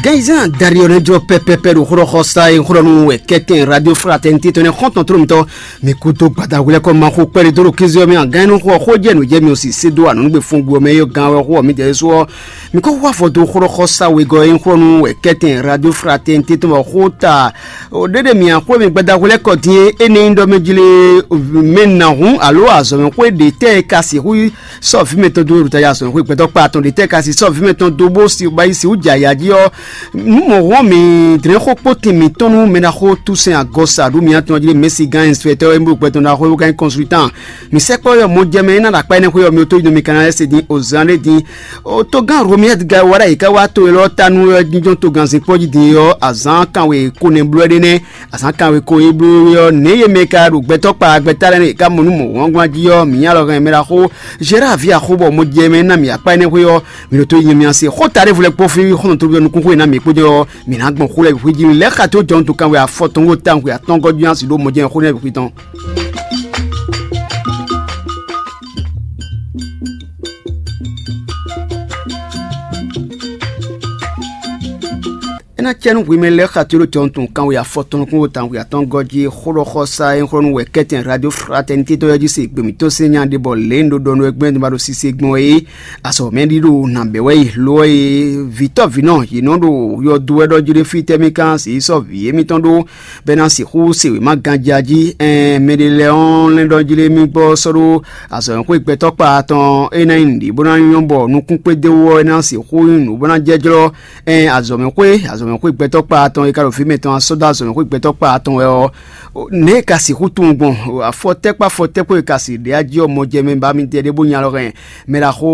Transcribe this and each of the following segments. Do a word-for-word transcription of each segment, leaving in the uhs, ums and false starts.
Kɛnzán dari ɔ́ nɛ́ jlɔ́ pɛpɛpɛ ɖo xlɔ́xɔsá e xlɔ́ nú wɛ kɛ́tɛn Radio Fraternité tɔn nɛ́ xɔ́ntɔn tló mitɔn. Mi kúdó gbadahwlɛ́kɔ ma xo kpɛ́ ɖé dó ɖo kéze ɔ́ mɛ a gán nɔ xɔ xó jɛ nǔ jɛ mi ɔ́ si sé dó anɔ̌gbe fúngbí ɔ́ mɛ é gán wɛ xó ɔ́ mǐdɛɛ ɖésú ɔ́. Mi ko wá vɔ dó xlɔ́xɔsá wegɔ́ e xlɔ́ nú wɛ kɛ́tɛn Radio Fraternité tɔn wɔ xó ta ɖéɖé mi axwé mi gbadahwlɛ́kɔ dín é énɛ́ nyí ɖɔ mɛ jlé mɛ nǎ hún alo azɔ̌mɛxwé ɖě tɛ́ e ka sixú sɔ́ vǐ mɛtɔn dó ɖo tají azɔ̌mɛxwé gbɛtɔ́ kpa atɔn ɖě tɛ́ ka si sɔ́ vǐ mɛtɔn dó bó si ba yi si wú jɛ ayǎ jí ɔ́. Nǔ mɔ̌hɔn mǐ dlɛ́n xó kpótin mǐtɔn nú mɛ ɖaxó Toussaint Agɔsa ɖó mǐ atɔn jí ɖé Mɛsigán inspecteur e bó gbɛtɔ́ ɖaxó e bó ka nyí consultant. Mǐ sɛkpɔ́ yɔ mɔ jɛ mɛ e ná ɖo akpá énɛ́ xwé ɔ́ mì tó yi nɔ mì ka ná lɛ́ se din ozán ɖé din. Togán Romiɛ́d ga wá ɖ'ayǐ ká wá to élɔ́ ta nú ɔ́ jínjɔ́n togán zinkpɔ́ jí din ɔ́, azǎn kanwe ko nɛ́ bló ɛ́ ɖé nɛ́. Azǎn kanwe ko e bló é ɔ́, nɛ̌ yě mɛ ka ɖo gbɛtɔ́ kpa gbɛtá lɛ́ɛ nú yě ká mɔ nú mɔ̌hwangbán jí ɔ́, mǐ nyí alɔ hɛn mɛ ɖaxó Gérard ví axó bɔ mɔ jɛ mɛ ná mǐ akpá énɛ́ xwé ɔ́, mǐ ɖo tó yi nyɔ́myá se xó ta ɖěvo lɛ́ɛ kpó fí xɔ́ntɔn tóbíɔ́ nukúnxó e ná mǐ kpó jɛ ɔ́, mǐ ná gbɔn xó lɛ́ɛ bǐ xwé jí lɛ́ xa tó jɔnú tokánwe afɔ tɔn xó tawun xwe atɔ́ngɔ́ jí ná sixú ɖó mɔ jɛ xó lɛ́ɛ bǐ xwé tɔn. É ná cɛ nú hwemɛ lɛ́ɛ xa tó ɖo jɔnú tɔn kanwe afɔ tɔn nukúnxó tawun xwe atɔ́ngɔ́ jí xó ɖɔ xɔsa e xlɔ́ nú wɛ kɛ́tɛn Radio Fraternité tɔn ɔ́ jí se gběmítɔ́ sín nya ɖé bɔ lě un ɖo ɖɔ nú wɛ gbɛ́ ma ɖo sise gbɔn é. Azɔ mɛ ɖi ɖo nǎ bɛ wɛ yi lo ɔ́ e vǐtɔ́ vǐnɔ yě nɔ ɖo yɔdu wɛ ɖɔ jí ɖé fí tɛ́ mì kan sǐ sɔ́ vǐ émítɔn ɖó bɔ é ná sixú se wěma ganjá jí. Ɛn mɛ ɖé lɛ́ɛ ɔ́ lɛ́ ɖɔ jí ɖé mì gbɔ sɔ́ ɖó azɔ̌mɛxwé gbɛtɔ́ kpa tɔn é ná nyí nǔɖé bó ná nyɔ́ bɔ nukún kpédéwú ɔ́ é ná sixú nyí nǔ bó ná jɛ́jlɔ́. Ɛn azɔ̌mɛxwé azɔ̌mɛxwé gbɛtɔ́ kpa tɔn e ka ɖo fí mɛtɔn ɔ́ sɔ́ dó azɔ̌mɛxwé gbɛtɔ́ kpa tɔn wɛ ɔ́, nɛ̌ è ka sixú tunwun gbɔn afɔtɛ́kpá afɔtɛ́kpó e ka si ɖě ají ɔ́ mɔ jɛ mɛ ba mi tɛ ɖé bó nya lɔ hɛn mɛ ɖaxó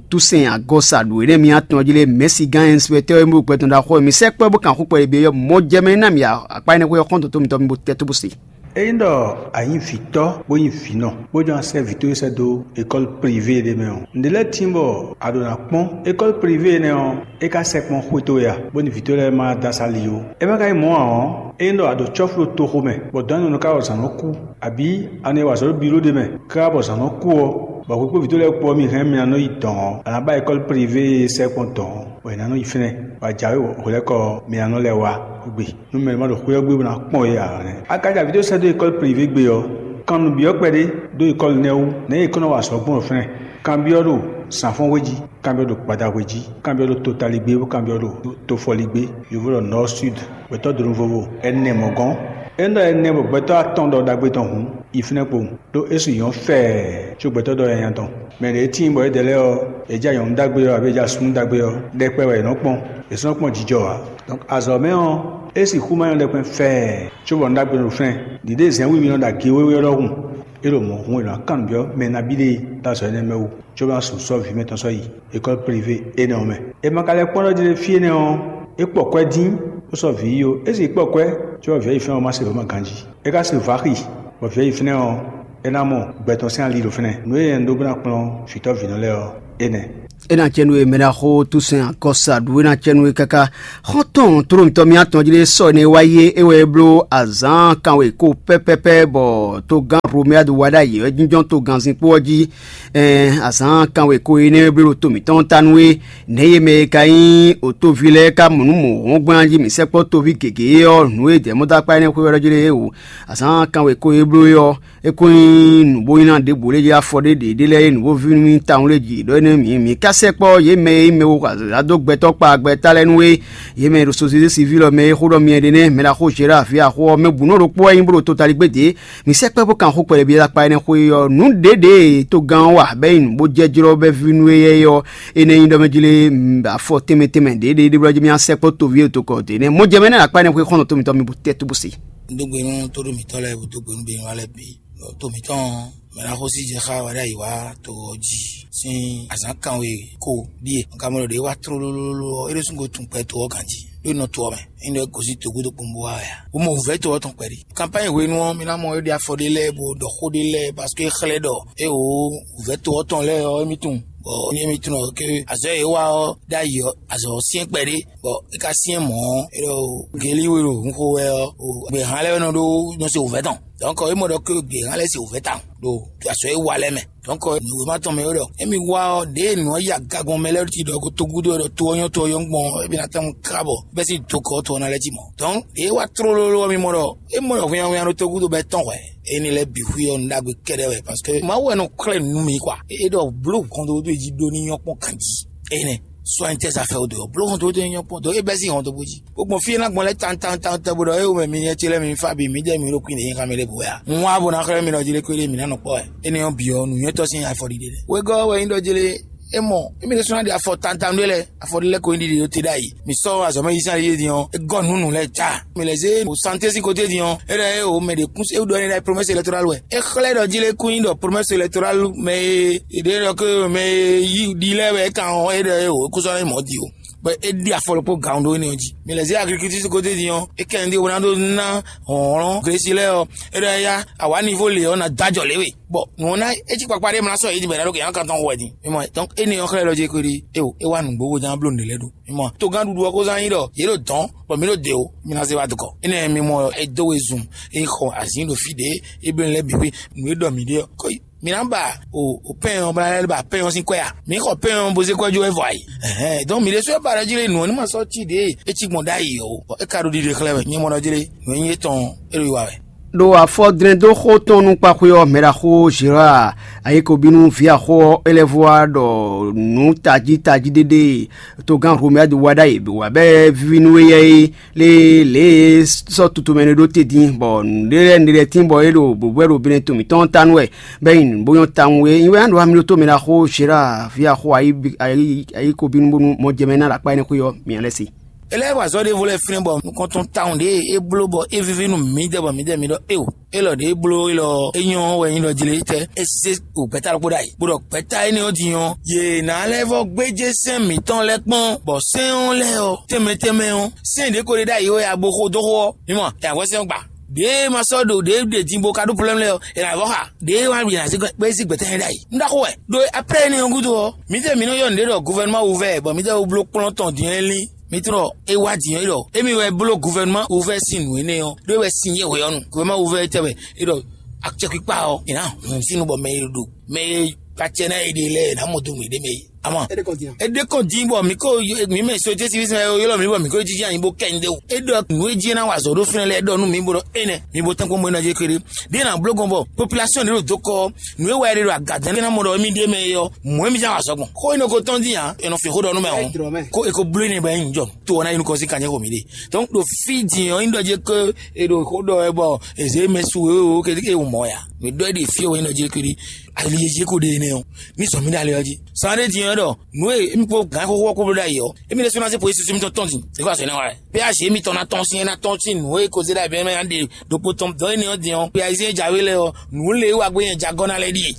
Toussaint Agɔsa ɖo énɛ́ mì atɔn jí lé mɛ̌sigán inspecteur e mú gbɛtɔn ɖaxó e mi sɛ́ kpɛ́ bó kan xó kpɛɖé byɔ́ mɔ jɛ mɛ ná mi akpá énɛ́ xwé ɔ́ xɔ́ntɔn tó mitɔn mi bo tɛ́ tó bó se. Ényí ɖɔ a nyǐ vǐtɔ́ bó nyí vǐnɔ bó jló ná sɛ́ vǐ towe sɛ́ dó école privée ɖé mɛ ɔ́, nǔɖé lɛ́ɛ tíin bɔ a ɖǒ ná kpɔ́n école privée énɛ́ ɔ́, é ka sɛkpɔ́ xwé towe a, bónú vǐ towe lɛ́ɛ ma dó asá li ó. É ma ka nyí mɔ̌ ǎ ɔ́, ényí ɖɔ a ɖo cɔ́fu ɖo toxo mɛ, bɔ dɔ̌n nɔ ka wɔ zǎn nɔ kú, abǐ a nɔ yi wa azɔ̌ ɖo biro ɖé mɛ, káká bɔ zǎn nɔ kú ɔ́, bɔ hwekpóvǐ towe lɛ́ɛ kpó ɔ́ mi hɛn mì ná nɔ yi dɔ̌n ɔ́, a nǎ ba ékɔ́li privé e sɛkpɔ́ dɔ̌n ɔ́, bɔ è nǎ nɔ yi fínɛ́, bɔ a jǎwe hwelɛ́kɔ ɔ́, mi ná nɔ lɛ́ wá gbe. Nú mɛ ɖé ma ɖo xwé ɔ́ gbe bó ná kpɔ́n yě ǎ nɛ́. A ka jɛ vǐ towe sɛ́ dó ékɔ́li privé gbe ɔ́, kan nǔ byɔ́ kpɛɖé dó ékɔ́li nɛ́ wú, nɛ̌ yě kɔn nɔ wa azɔ̌ gbɔn ɖo fínɛ́? Kanbyɔ́ ɖo zǎnfɔ́nhwe jí, kanbyɔ́ ɖo gbadahwe jí, kanbyɔ́ ɖo totaligbé, bó kanbyɔ́ ɖo tofɔligbé, yovo ɖɔ nɔ̌ súd, gbɛtɔ́ donu vovo ɛnɛ mɔ̌ gɔ́n. Ényí ɖɔ ɛnɛ bɔ gbɛtɔ́ atɔn ɖɔ ɖagbe tɔn hǔn, yi fínɛ́ kpowun, ɖó é su nyɔ̌ fɛɛ có gbɛtɔ́ ɖɔ nyanya tɔn. Mɛ ɖě tíin bɔ édɛɛ lɛ́ɛ ɔ́, è jɛ nyɔ̌nu ɖagbe ɔ́ abǐ è jɛ asúnú ɖagbe ɔ́, ɖɛkpɛ wɛ è nɔ́ kpɔ́n, è sɔ́ nɔ́ kpɔ́n jijɔ ǎ. Donc azɔ̌ mɛ ɔ́, é sixú ma nyɔ́ ɖɛkpɛ fɛɛ, cóbɔ nǔ ɖagbe ɖo fínɛ́. Ɖǐɖe zɛ̌nwíwí nɔ ɖo agě wéwé ɔ́ ɖɔhun. É ɖo mɔ̌ hun è nɔ kan nǔ byɔ́ mɛ nabí ɖé ɖo azɔ̌ énɛ́ mɛ wú, cóbɔ é ná sixú sɔ́ vǐ mɛtɔn sɔ́ yi ékɔ́li privé énɛ́ ɔ́ mɛ. È ma ka lɛ́ kpɔ́n ɖɔ jí ɖé fí énɛ́ ɔ́, é kpɔ kwɛ́ dín, bó sɔ́ vǐ yi ó. É sì kpɔ kwɛ́, cóbɔ vǐ ɔ́ yi fínɛ́ ɔ́ ma se vɔ̌ ma ganjí. É ka se vǎ xi, bɔ vǐ ɔ́ yi fínɛ́ ɔ́, é ná mɔ gbɛ tɔn sín ali ɖo fínɛ́. Nǔ e nyɛ un ɖó bó ná kplɔ́n vǐtɔ́ vǐnɔ lɛ́ɛ ɔ́, énɛ́. É ná cɛ nú e mɛ ɖaxó Túsɛn Akɔsa ɖu é ná cɛ nú e káká. Xɔ́ntɔn tlóló mǐtɔn mì atɔn jí ɖé sɔ́ énɛ́ wá yi é, é wɛ é bló azǎn kanwe kó pɛ́pɛ́pɛ́ bɔ togán Romeadu wá ɖ'ayǐ wɛ jínjɔ́n togannzin kpó ɔ́ jí. Ɛn azǎn kanwe kó énɛ́ wɛ bló ɖo to mǐtɔn ta nú é. Nɛ̌ yě mɛ e ka nyí òtóví lɛ́ɛ ka mɔ nǔ mɔ̌hɔ́ngbán jí mǐ sɛkpɔ́ toví gěgé ɔ́, nǔ e dɛ̌mɔ́dákpá énɛ́ xwé wɛ ɖɔ jí ɖé é wǔ. Azǎn kanwe kó e bló é ɔ́, é ko nyí nǔ bó nyí ná ɖěbǔ lé jí afɔ ɖé ɖě ɖé lɛ́ɛ é nǔ bó ví nú mì tawun lé jí ɖɔ énɛ́ mǐ mǐ ka sɛkpɔ́ yě mɛ e nyí mɛ e ɖo azǎn dó gbɛtɔ́ kpa gbɛta lɛ́ɛ nú é. Yě mɛ e ɖo sozézé sivíl ɔ́ mɛ é xó ɖɔ myɛ ɖe nɛ́ mɛ ɖaxó Zerá ví axó ɔ́ mɛ bǔ nɔ ɖokpó wɛ nyí bó ɖo totaligbé dě. Mǐ sɛkpɔ́ bó kan xó kpɛɖɛví ɖo akpa énɛ́ xwé ɔ́, nǔ ɖěɖě e togán ɔ́ wa bɔ é nyí nǔ bó jɛ jlɔ́ bɔ é ví nú éyɛ́ ɔ́, énɛ́ nyí ɖɔ mɛ jlé afɔ tɛnmɛ tɛnmɛ ɖě ɖě ɖé blɔ́ jí mì sɛkpɔ́ toví e tokɔ dě nɛ́. Mɔjɛmɛ énɛ́ ɖo akpa énɛ́ xwé xɔ́ntɔn tó mǐtɔn mì bó tɛ́ tó bó se. Un dó gbe nú tóɖó mǐtɔn lɛ́ɛ, bó dó gbe nú běnúwa lɛ́ɛ bǐ. Ɖɔ to mǐtɔn mɛ ná xósí jɛ xá wɛ ɖ'ayǐ wá to ɔ́ jí sín azǎn kanwe ko ɖíe. Un ka mɔ ɖɔ ɖě wá tlólólóló ɔ́, é ɖésú ko tunwun kpɛ to ɔ́ ganjí, ɖó é nɔ to ɔ́ mɛ. É nɔ gosín togúdo kpowun bó wá wɛ ǎ. Bó mɔ wǔvɛ́ to ɔ́ tɔn kpɛɖé. Kanpány hwenu ɔ́, mi ná mɔ é ɖe afɔ ɖé lɛ́ɛ bó ɖɔ xó ɖé lɛ́ɛ, paske é xlɛ́ ɖɔ é wǒ wǔvɛ́ to ɔ́ tɔn lɛ́ɛ ɔ́, émí tunwun. Bɔ émí tunwun ɔ́, ke azɔ̌ e é wa ɔ́ ɖ'ayǐ ɔ́, azɔ̌ ɔ́ syɛ́n kpɛɖé. Bɔ é ka syɛ́n mɔ̌ ɔ́, é ɖɔ gělí we ɖo hun xo wɛ ɔ́, gběhan lɛ́ɛ wɛ nɔ ɖó nɔ se wǔvɛ́ tɔn. Donc é mɔ ɖɔ ké gbě hán lɛ́ɛ se wǔvɛ́ tawun ɖo azɔ̌ e wa lɛ́ɛ mɛ. Donc nǔwéma tɔn mɛ é ɖɔ émi wá ɔ́, ɖěe nǔ ɔ́ yi agagbɔn mɛ lɛ́ɛ ti ɖɔ ko togúdo ɖɔ to ɔ́ nyɔ́ to ɔ́ nyɔ́ gbɔn ɔ́, émi ná tɔ́n ká bɔ bɛ́ sín dokɔ ɔ́ to ɔ́ ná lɛ́ cí mɔ̌. Donc ɖěe wá tlólóló ɔ́, mi mɔ ɖɔ é mɔ ɖɔ hwinnyahwinnya ɖo togúdo bɔ é tɔ́n hwɛ̌. Éní lɛ́ɛ bǐ xwí ɔ́ nǔ ɖagbe kɛ́ɖɛ́ wɛ, parce que Mawu wɛ nɔ xlɛ́ nǔ nú mì kwa. É ɖɔ bló hɔntoto e jí ɖó ní nyɔ́ kpɔ́n ganjí. Énɛ́ sɔ́ nyí tɛ́ sa fɛ wodó ɔ́, bló hɔntoto e nyɔ́ kpɔ́n dó é bɛ́ sín hɔntoto jí. Bó gbɔn fí e ná gbɔn lɛ́ɛ tantantantɛ bó ɖɔ é wɛ mi nyɛ ce lɛ́ɛ mi fá bǐ mǐdɛɛ mi ɖo kwín ɖě nyí xá mi ɖěbǔ wɛ a? Un wá bó ná xlɛ́ mi ɖɔ jí lé kwéɖé mǐ ná nɔ kpɔ́ wɛ. Énɛ́ ɔ́ bǐ ɔ́, nǔnywɛ́tɔ́ sín afɔɖiɖe lɛ́ɛ. Wegɔ́ ɔ́ wɛ nyí ɖɔ jí lé é mɔ émí ɖésú ná ɖi afɔ tantanu ɖé lɛ́ɛ, afɔ ɖé lɛ́ɛ ko nyí ɖiɖi ɖó te ɖ'ayǐ. Mǐ sɔ́ azɔ̌ mɛ yí sín ali din ɔ́, é gɔ́ nǔ nǔ lɛ́ɛ ja. Mǐ lɛ́ zé ɖo santé sín koté din ɔ́, é ɖɔ é o mɛ ɖě kún é ɖɔ énɛ́ ɖɔ promesse électorale wɛ. É xlɛ́ ɖɔ jí lé kún nyí ɖɔ promesse électorale mɛ e è ɖě ɖɔ ké mɛ e yí ɖi lɛ́ɛ wɛ é kan ɔ́, é ɖɔ é o é kún sɔ́ ná nyí mɔ̌ di o. Bɔ é ɖi afɔ ɖokpó gǎn ɖó énɛ́ ɔ́ jí. Mǐ lɛ́ zé agriculture sín koté din ɔ́, é kɛn ɖi wǒ ná ɖó ná hlɔ̌nhlɔ́n glesi lɛ́ɛ ɔ́, é ɖɔ éyá awǎ nivo lě ɔ́ ná dó ajɔ lě we. Bɔ nǔ ɔ́ ná é cí kpakpa ɖé mlá sɔ́ yě jí bɔ è nǎ ɖó kɛ nyɔ́ kan tɔn xo wɛ din. Mi mɔ, donc énɛ́ ɔ́ xlɛ́ ɖɔ jí kweɖi é o é wá nǔgbó bó ján bló nǔɖé lɛ́ɛ ɖó. Mi mɔ, togán ɖuɖu ɔ́ ko zán nyí ɖɔ yě ɖo dɔ̌n, bɔ mǐ ɖo dě o, mi ná zé wá dukɔ. Énɛ́ mi mɔ, é dó we zun, é xɔ azǐn ɖo fí ɖě, é bló lɛ́ɛ bǐ xwé, nǔ e ɖɔ mǐ ɖe ɔ́, kɔ yi. Mǐ ná ba o o pɛ́n ɔ́ bla lɛ́ ba pɛ́n ɔ́ sín kwɛ́ a? Mǐ xɔ pɛ́n ɔ́ bó zé kwɛ́ jó wɛ vɔ ayǐ. Ɛhɛn, donc mǐ ɖésú é ba ɖɔ jí lé nǔ ɔ́ ní ma sɔ́ cí ɖě é cí gbɔn ɖ'ayǐ ɔ́ o, bɔ é ka ɖo ɖiɖe xlɛ́ wɛ, nyɛ mɔ ɖɔ jí lé nǔ e nyí étɔn é ɖo yi wa wɛ. Ɖo afɔdlɛ́ndóxó tɔn nú kpaxwé ɔ́, mɛɖaxó Gérard ayikobínú ví axó ɔ́, é lɛ́ vɔ wá ɖɔ nǔ tají tají ɖé ɖé togán Romuald wa ɖ'ayǐ bó wá bɛ́ víví nú éyɛ́ é lé lě e é sɔ́ tutomɛ ɖé ɖó te dín, bɔ nǔɖé lɛ́ɛ nǔɖé lɛ́ɛ tín bɔ é ɖo bǔbú wɛ ɖo Benɛ́ to mǐtɔn ɔ́ ta nú wɛ, bɔ é nyí nǔ bó nyɔ́ tawun é. Nyi wɛ ɖo amló tó mɛ ɖaxó Gérard ví axó ayikobínú bónú mɔ jɛ mɛ ná ɖo akpá énɛ́ xwé ɔ́, mǐ lɛ́ se. É lɛ́ wa azɔ̌ ɖěvo lɛ́ɛ flɛ́n bɔ nukɔn tɔn tawun ɖě e é bló bɔ é víví nú mǐdɛɛ bɔ mǐdɛɛ mi ɖɔ éo. Élɔ́ ɖě é bló élɔ́ é nyɔ́ wɛ nyí ɖɔ jlé tɛ́ é zé o gbɛ̌ta ɖokpó ɖ'ayǐ, bó ɖɔ gbɛ̌ta énɛ́ ɔ́ din ɔ́, yě ná lɛ́ vɔ́ gbéjé sɛ́n mǐtɔn lɛ́ɛ kpɔ́n, bɔ sɛ́n ɔ́ lɛ́ɛ ɔ́, tɛnmɛ tɛnmɛ ɔ́, sɛ́n ɖě ko ɖe ɖ'ayǐ wɛ a bo xo dó xó ɔ́, mi mɔ, è nǎ hwɛ́ sɛ́n ɔ́ gba. Ɖěe ma sɔ́ ɖo ɖě ɖe din bo ka ɖó plɛ́mlɛ́ ɔ́, è nǎ vɔ́ xa. Ɖěe wá bǐ ná zé gbɛ́ zí gbɛ̌ta nyɛ ɖ'ayǐ. Un ɖaxó wɛ. Ɖó aprɛ́ énɛ́ ɔ́ gúdo ɔ́, mǐdɛɛ mǐ nɔ ylɔ́ nǔɖé ɖɔ guvɛnuma wuvɛ́, bɔ mǐdɛɛ wú bló kplɔ́n tɔn din ɔ́ lí. Mi tlɔ é wá din ɔ́ ɖɔ émí wɛ bló guvɛnuma wuvɛ́ sín nǔ énɛ́ ɔ́, ɖó é wɛ sin yě hwɛ ɔ́ nu. Guvɛnuma wuvɛ́ é tɛ wɛ é ɖɔ acɛkpikpa ɔ́, è nǎ hun sínú bɔ mɛ e ɖo mɛ e kpacɛ ná é ɖe lɛ́ɛ è nǎ mɔ dó nǔɖé mɛ é. Ama é ɖe kɔn din bɔ mǐ ko mǐ mɛ sojé sivisɛn ylɔ́ mǐ bɔ mǐ ko jiji anyi bó kɛ nyi ɖé wú. É ɖɔ nǔ e jí é ná wa azɔ̌ ɖó fínɛ́ lɛ́ɛ ɖɔ nú mǐ bó ɖɔ énɛ́, mi bo tɛ́nkpɔ́n mɔ̌ ná jɛ kéré. Ɖěe ná bló gbɔn bɔ population ɖé ɖo dó kɔ ɔ́, nǔ e wa é ɖe ɖo agǎdɛ́ ná mɔ ɖɔ émí ɖíe mɛ é ɔ́, mɔ̌ émí ján wa azɔ̌ gbɔn. Xó énɛ́ ko tɔ́n dín ǎ, è nɔ fin xó ɖɔ nú mɛ ɔ́, kó é ko bló énɛ́ bɔ é nyí jɔ. To ɔ́ ná yi nukɔn sín kanjɛ xo mǐ ɖe. Donc ɖo fí din ɔ́, nyí ɖɔ jɛ ké è ɖo xó ɖɔ wɛ bɔ è zě mɛ su wěwé ké é wǔ mɔ ya. Mǐ ɖɔ é ɖe fí ɔ́ wɛ nyí ɖɔ jɛ ké ɖi ali e jí é ko ɖe énɛ́ ɔ́, ní zɔn mǐ ɖo ali ɔ́ jí. San ɖé din ɔ́ ɖɔ nǔ e émí kpó gǎn xóxó ɔ́ kó bló ɖ'ayǐ ɔ́, émí ɖésú ná zé police sín mítɔn tɔn din, é kó azɔ̌ énɛ́ wa wɛ. Pé azǐ émítɔn ná tɔ́n sín é ná tɔ́n sín nǔ e ko zé ɖ'ayǐ bɛ́ mɛ ná ɖe ɖokpó tɔn dɔ̌ énɛ́ ɔ́ din ɔ́, pé azǐ é jǎwe lɛ́ɛ ɔ́, nǔ lé e wá gbé nyɛ jagɔ́ ná lɛ́ɛ ɖíe.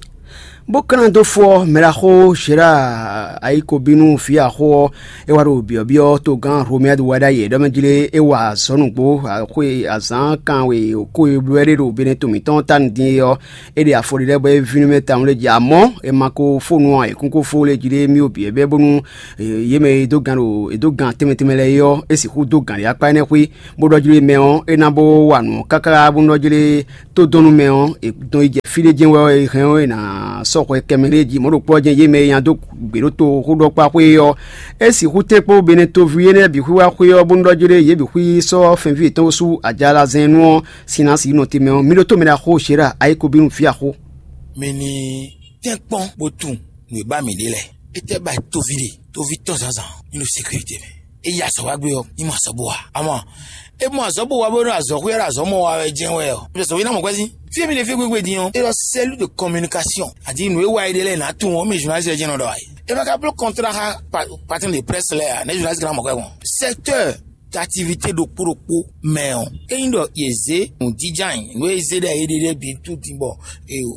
Bó ka ná dó fɔ mɛɖaxó Zhéra ayikobínú vǐ axó ɔ́, é wá ɖo byɔ̌byɔ́ togán Romuald wɛ ɖ'ayǐ ɖɔ mɛ jlé é wa azɔ̌ nǔgbó xwe azǎn kan we kó e bló wɛ ɖé ɖo Benɛ́ to mǐtɔn ta nǔ din é ɔ́, é ɖe afɔ ɖé lɛ́ɛ bɔ é ví nú mɛ tawun lé jí. Amɔ̌ è ma ko fó nu ɔ́, è kún ko fó lé jí ɖé mì bǐ bɛ́ bónú yě mɛ e dó gan ɖo è dó gan tɛnmɛ tɛnmɛ lɛ́ɛ é ɔ́, é sixú dó gan ɖě akpá énɛ́ xwé, bó ɖɔ jlé mɛ ɔ́, é ná bó wa nǔ ɔ́ káká bónú ɖɔ jlé tó dɔn nú mɛ ɔ́, è dɔn yi jɛ fí ɖé jɛ́n wɛ ɔ́, è hɛn ɔ́, è nǎ sɔ́ hwɛ kɛmɛ ɖé jí. Mɔ̌ ɖokpó ɔ́ jɛ́n yě mɛ e nya dó gbě ɖó toxóɖɔkpá xwé ɔ́, é sixú tɛ́nkpɔ́n Benɛ́ toví énɛ́ bǐ xwíwá xwé ɔ́, bónú ɖɔ jlé yě bǐ xwí sɔ́ fɛnví yětɔn su ajalazɛn nu ɔ́, sin ná sixú nɔ te mɛ ɔ́. Mì ɖótó mɛ ɖaxó Zhéra ayikobínú ví axó. Mi ní tɛ́nkpɔ́n bó tunwun nǔ e ba mǐ ɖe lɛ́ɛ. Étɛ́ ba toví ɖe? Toví tɔn zǎnzǎn ní ɖo sécurité mɛ. É yi azɔ̌ wá gbé ɔ́, ní mɔ azɔ̌ bó wa. Amɔ é mɔ azɔ̌ bó wa bó nɔ azɔ̌ xwé ɖo azɔ̌ mɔ wa wɛ jɛ́n wɛ ɔ́, é sɔ́ ná mɔ gbɛ́ sín. Fí e mi ɖe fí gbégbé din ɔ́, é ɖɔ cellule de communication. Adi nǔ e wa é ɖe lɛ́ɛ nǎ tunwun ɔ́, mɛ journaliste lɛ́ɛ jɛ́n nɔ ɖɔ wá é. É ma ka bló contrat xá patron de presse lɛ́ɛ ǎ, nɛ̌ journaliste ka ná mɔ kwɛ́ gbɔn? Secteur d'activité ɖokpó ɖokpó mɛ ɔ́, ényí ɖɔ yě zé nǔjínjɔ́n ayǐ, nǔ e zé ɖɔ yě ɖe lɛ́ɛ bǐ tún din bɔ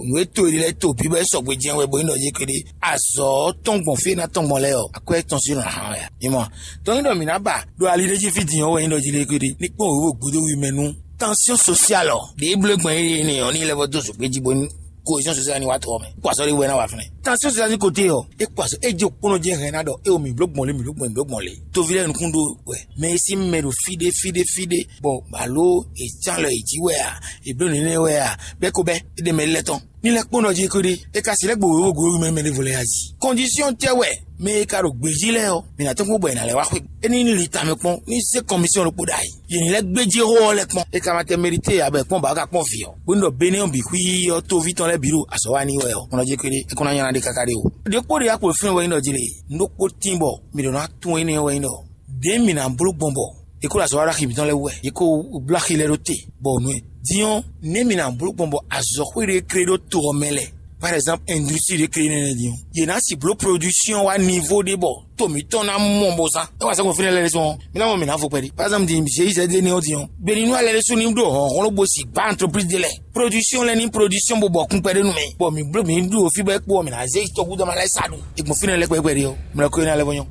nǔ e to yě ɖe lɛ́ɛ to bǐ bɔ é sɔgbe jɛ́n wɛ bɔ é nɔ yě kɛɖé azɔ̌ ɔ́ tɔn gbɔn fí e ná tɔn gbɔn lɛ́ɛ ɔ́, akwɛ́ tɔn sín nɔ ná hán wɛ ǎ. Mi mɔ, tɔn nyí ɖɔ mǐ ná ba ɖo ali ɖé jí fí din ɔ́ wɛ nyí ɖɔ jí lé kɛɖé ní kpɔ́n wěwé gúdo wi mɛ nú tension sociale ɔ́ ɖě bló gbɔn é nɛ ɔ́ ní lɛ́ vɔ dó zǒgbé jí bónú cohésion sociale ní wá to ɔ́ mɛ. Kó azɔ̌ ɖé wɛ ná wa fínɛ́. Tansɔn sisa sín kote ɔ́, é kpɔ azɔ é jí okpónɔ jɛ hɛn ná ɖɔ é o mǐ bló gbɔn lé, mǐ bló gbɔn, mǐ bló gbɔn lé. Toví lɛ́ɛ nukún ɖó wɛ, mɛ e sín mɛ ɖo fí ɖé fí ɖé fí ɖé, bɔ alo è cán lɔ è jí wɛ a, è bló nɛnɛ wɛ a, bɛ́ ko bɛ́ é ɖe mɛ lɛ́ tɔn. Ní lɛ́ kpónɔ jí kó ɖé, é ka si lɛ́ gbo wěwé glo mɛ mɛ ɖěvo lɛ́ɛ a jí. Kɔndisiyɔn tɛ́ wɛ mɛ e ka ɖo gbějí lɛ́ɛ ɔ́, mǐ ná tɔ́n kpó bɔ è nǎ lɛ́ wá xwé. É ní li tamɛ kpɔ́n ní zé kɔmisiɔn ɖokpó ɖ'ayǐ. Yě ní lɛ́ gbéjé xó ɔ́ lɛ́ kpɔ́n. É ka ma tɛ mɛɖité ǎ bɔ è kpɔ́n bǎ ka kpɔ́n vǐ ɔ́, bónú ɖɔ Benɛ́ ɔ́ bǐ xwí ɔ́ tóví tɔn lɛ́ɛ bǐ ɖo azɔ̌ wa n'i wɛ ɔ́, kɔnɔ jɛ kpéɖé é kɔn ná nylá ɖe káká ɖé o. Ɖěkpó ɖě akpo fínɛ́ wɛ nyí ɖɔ jí lě, nǔ ɖokpó tín bɔ mǐ ɖo ná tunwun énɛ́ wɛ nyí ɖɔ ɖě mǐ ná bló gbɔn bɔ è kó ɖo azɔ̌ wa ɖo axi mǐtɔn lɛ́ɛ wú wɛ, è kó bló axi lɛ́ɛ ɖó te, bɔ nǔ e dín ɔ́, nɛ̌ mǐ ná bló gbɔn bɔ azɔ̌xwé ɖé klé ɖó to ɔ́ mɛ lɛ́ɛ? Par exemple, industrie ɖé klé nɛnɛ din ɔ́, yě ná si bló production wá niveau ɖé bɔ to mǐtɔn ná mɔ bó zán. É wá sɛ́ gbɔn fínɛ́ lɛ́ɛ ɖésú ɔ́, mí ná mɔ mǐ ná fo kpɛɖé. Par exemple, din G I Z D énɛ́ ɔ́ din ɔ́, gbeli nú alɛ ɖésú ní ɖo hlɔ̌nhlɔ́n bó si gbá entreprise ɖé lɛ́ɛ. Production lɛ́ɛ ní production bó bɔ kún kpɛɖé nú mɛ, bɔ mǐ bló mǐ ɖu fí bɔ é kpo ɔ́, mǐ ná zé tɔgúdɔ́ ma lɛ́ɛ sa ɖu. È gbɔn fínɛ́ lɛ́ɛ kpɛɖé ɔ́, mlɔ kó énɛ́ lɛ́ɛ vɔ nyɔ́.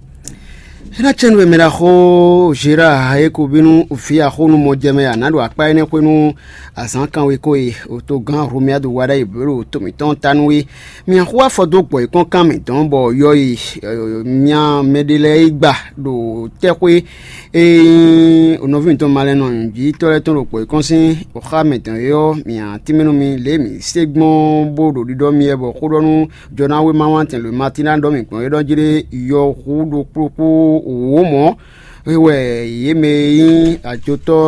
É ná cɛ́ nú we mɛ ɖaxó Zera e ko bínú vǐ axónú mɔjɛmɛ ǎ ná ɖo akpá énɛ́ xwé nú azǎn kanwe ko e togán Hlomia ɖo wa ɖ'ayǐ bló ɖo to mǐtɔn ta nú é. Mǐ xo afɔ dó gbɔ yěkɔ́n kan mǐtɔn bɔ yɔ e mya mɛɖé lɛ́ɛ yi gba ɖo tɛ́xwé e nyí nɔví mǐtɔn malɛnɔ nǔjíyítɔ́ lɛ́ɛ tɔn ɖo gbɔ yěkɔ́n sín xá mǐtɔn é ɔ́, mǐ tínmɛ nú mi lě e mǐ se gbɔn bó ɖo ɖiɖɔ mi wɛ bɔ xó ɖɔ nú jɔnáwéma wantɛn Matina ɖɔ mǐ gbɔn é ɖɔ jí ɖé yɔhu ɖokpó kpó wǒ mɔ̌. É wɛ yě mɛ e nyí ajotɔ́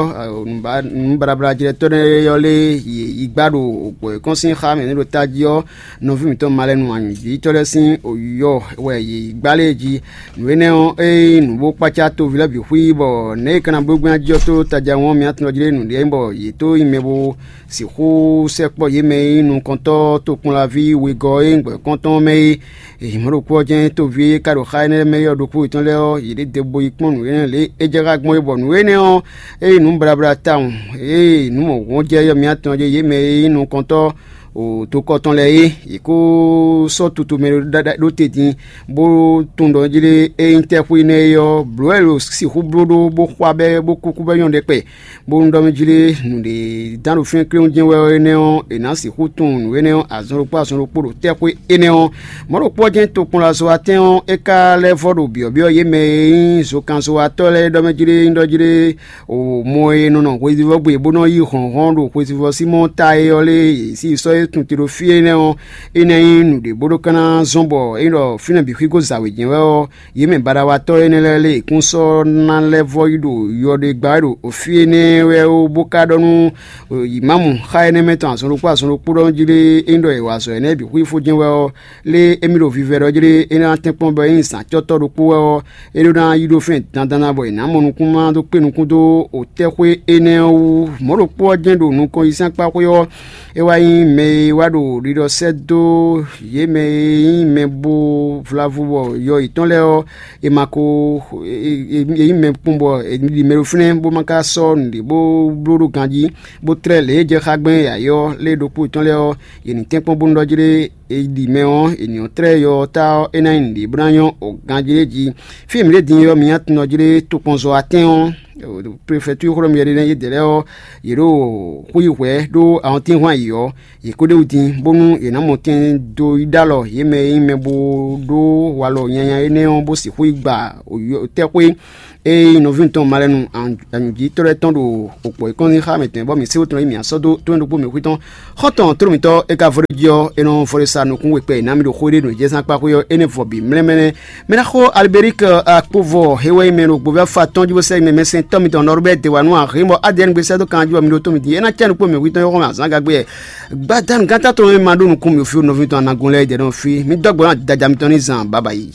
nǔblablajlɛ́tɔ́ lɛ́ɛ ɔ́ lé yě yi gbá ɖo gbɔ̌ e kɔn sín xá mɛ nɛ́ ɖo tají ɔ́, nɔví mǐtɔn malɛnu anyǔjítɔ́ lɛ́ɛ sín oyɔ wɛ yě yi gbá lé jí. Nǔ énɛ́ ɔ́, ée nyí nǔ bó kpácá toví lɛ́ɛ bǐ xwí bɔ nɛ̌ è ka ná bló gbɛ́n jí ɔ́ tó taja ɔ́ mǐ atɔn jí lé nǔɖé nyí bɔ yě tó nyi mɛ bó sixú sɛkpɔ́ yě mɛ e nyí nukɔntɔ́ tokpɔnlaví wegɔ́ e nyí gbɛ̌kɔ́ntɔn ɔ́ mɛ é. Mɔ̌ ɖokpó ɔ́ jɛ́n toví e ka ɖo xá énɛ́ mɛ ɔ́ ɖokpó yětɔn lɛ́ɛ ɔ́, yě ɖe degbó yi kpɔ́n nǔ énɛ́ lě é jɛ xá gbɔn é bɔ nǔ énɛ́ ɔ́, é nyí nǔ blablá tawun, ée nǔ mɔ̌hunhun jɛ yɔ mǐ atɔn jɛ yě mɛ e nyí nukɔntɔ́ ɖo tokɔ tɔn lɛ́ɛ é. Yě kó sɔ́ tutu mɛ ɖó te din, bó tunwun ɖɔ jí lé é nyí tɛ́xwé nɛ́ é ɔ́, blǒ wɛ è ɖo sixú bló ɖó bó xwá bɛ́ bó kúkú bɛ́ nyɔ́ ɖɛkpɛ. Bónú ɖɔ mɛ jí lé nǔɖé dán ɖo fínɛ́ kléwún jɛ́n wɛ ɔ́ énɛ́ ɔ́, è nǎ sixú tunwun nǔ énɛ́ ɔ́ azɔn ɖokpó azɔn ɖokpó ɖo tɛ́xwé énɛ́ ɔ́. Mɔ̌ ɖokpó ɔ́ jɛ́n tokpɔnlazɔ́watɛ́n ɔ́, é ka lɛ́ vɔ́ ɖo byɔ̌byɔ́ yě mɛ e nyí zokannzɔ́watɔ́ lɛ́ɛ ɖɔ mɛ jí lé nyí ɖɔ jí lé o mɔ e nɔ nɔ hwesivɔ́ gbe bó nɔ yí hlɔ̌nhlɔ́n ɖo hwesivɔ́ Sinmɔ́ɔ ta é ɔ́ lé, yě sí sɔ́ é tun te ɖo fí énɛ́ ɔ́, énɛ́ nyí nǔɖé bó ɖó ka ná zɔ́n bɔ é ɖɔ fínɛ́ bǐ xwígó zǎwe jɛ́n wɛ ɔ́, yě mɛ baɖawa tɔ́ énɛ́ lɛ́ɛ lé è kún sɔ́ ná lɛ́ vɔ́ yi ɖo yɔ ɖé gbá wɛ ɖo fí énɛ́ wɛ ó, bó ka ɖɔ nú yǐmámu xá énɛ́ mɛ tɔn azɔn ɖokpó azɔn ɖokpó ɖɔ jí lé é nyí ɖɔ è wa azɔ̌ énɛ́ bǐ xwífó jɛ́n wɛ ɔ́, lé émí ɖo vivɛ ɖɔ jí lé é ná tɛ́nkpɔ́n bɔ é nyí zǎncɔ́tɔ́ ɖokpó wɛ ɔ́, é ɖó ná yi ɖó fɛ́n dandan ná bɔ è nǎ mɔ nukúnmá dó kpé nukún dó otɛ́xwé énɛ́ ɔ́ wú. Mɔ̌ ɖokpó ɔ́ jɛ́n ɖo nukɔn yi sín akpá xwé ɔ́, é wá nyí mɛ e wá ɖo ɖiɖɔ sɛ́ dó yě mɛ e nyí mɛ bo vlavu bɔ yɔ yětɔn lɛ́ɛ ɔ́, è ma ko è nyí mɛ kpɔ́n bɔ è ɖi mɛ ɖo fínɛ́ bó ma ka sɔ́ nǔɖé bó bló ɖó ganjí, bó tlɛ́ lě e jɛ xá gbɛn yǎyɔ́ lé ɖokpó yětɔn lɛ́ɛ ɔ́, yě ní tɛ́nkpɔ́n bónú ɖɔ jí ɖé è ɖi mɛ ɔ́, è nǐ ɔ́ tlɛ́ yɔ ɔ́ ta ɔ́, é ná nyí nǔɖé bó ná nyɔ́ ganjí ɖé jí. Fí e mǐ ɖe din é ɔ́, mi nyi atɔn jí ɖé tokpɔnzɔ atɛ́n ɔ́, prefɛtúr xwlɔ́mú yɛɖé nɛ́ yědɛɛ lɛ́ɛ ɔ́, yě ɖo xwí hwɛ̌ ɖó awɔntínhwan yě ɔ́, yě kó ɖ'é wú din, bónú yě ná mɔ tɛn dó yi ɖó alɔ yě mɛ e nyí mɛ bó ɖó walɔ nyanya énɛ́ ɔ́, bó sixú yi gba tɛ́xwé e nyí nɔví mǐtɔn malɛnu anyǔjítɔ́ lɛ́ɛ tɔn ɖo okpɔ̌ e kɔn nyi xá mǐtɔn, bɔ mǐ sé wú tɔn e mǐ sɔ́ dó tónú ɖokpó mǐ xwí tɔn. Xɔ́ntɔn tlóló mǐtɔn e ka vɔ ɖó jí ɔ́, é nɔ vɔ ɖé sa nukún we kpɛ e ná mi ɖo xó ɖé ɖo jɛzán kpá xwé ɔ́, énɛ́ vɔ bǐ mlɛ́mlɛ́. Mɛ ná xó Alberic Akpovɔ he wɛ nyí mɛ ɖo gbovɛ́fa tɔn jí bó sɛ́ mɛ mɛsɛntɔ́ mitɔn Nɔrbɛ́ de wa nú ahin bɔ adɛn gbe sɛ́ dó kan jí bɔ mi ɖo tó mi din. É ná cɛ nukpó mɛ hwitɔn yɔ́ xɔmɛ azǎn gagbe. Gbadanu gánta tɔn e ma ɖó nukún mi fí nɔví tɔn anagun lɛ́ɛ jɛ nɔ fí. Mi dɔ́ gbɔ ná daja mitɔn ní zan baba yi.